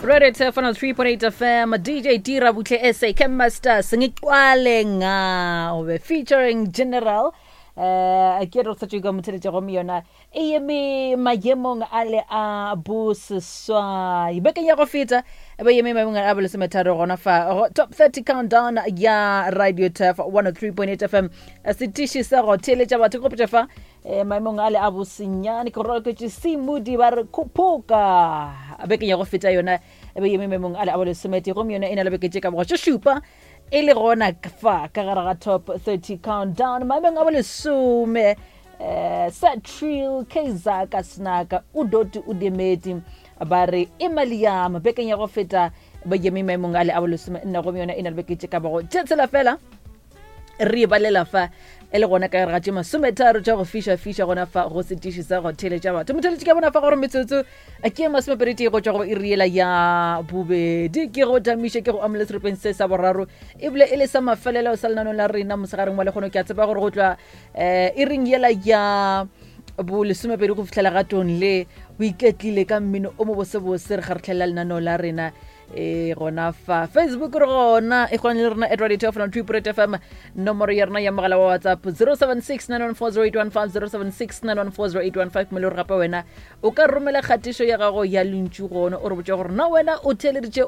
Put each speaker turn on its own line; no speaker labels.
Radio Turf 103.8 FM, DJ Dira Butle SA, Camp Master, Sengiqwale Ngawe, featuring General. Eh, ke re sa ka motheletša gomme yona e eme maemong a le a boseswai bekeng ya go feta e ba eme maemong a bolesometharo gona fa go top 30 countdown ya Radio Turf 103.8 FM, setiši sa go theeletša batho ke gopotša fa maemong a le a bosenyane ke roloketše semudi ba re khuphuka. Bekeng ya go feta yona e be eme maemong a le a bolesomete gomme yona e na le beke tše ka bogo tše šupa e le gona fa ka gare ga top 30 countdown. Maemong a bolesome, Satril Kezaka Snaka Udoti Udemeti ba re imali yam. Bekeng ya go feta ba eme maemong a le a bolesome nne gomme yona e na le beke tše ka bogo tše tshela fela re balela fa e le gona ka gare ga tše 30 tša go fiša-fiša gona fa go setiši sa go theletša batho. Motheletši ka bona fa gore metsotso ke 21 go tšwa go iriela ya bobedi, ke go tamiše ke go amole serepeng se sa boraro ebile e le sa mafelelo sa lenanong la rena mosegareng wa lekgono. Ke a tseba gore go tlwa um e reng yela ya bo 12 go fitlhela gatong le o iketlile ka mmino o mo bosebose re kgaretlhelela lenaneo la rena e gona fa Facebook. Re gona e kgone le rena at Radio 2 FM. Nomoro ya rena ya mogala wa WhatsApp 076 914 076 914. Mo le gore gape wena o ka romela kgatišo ya gago ya lentšu gona o re botša gore na wena o theeleditše.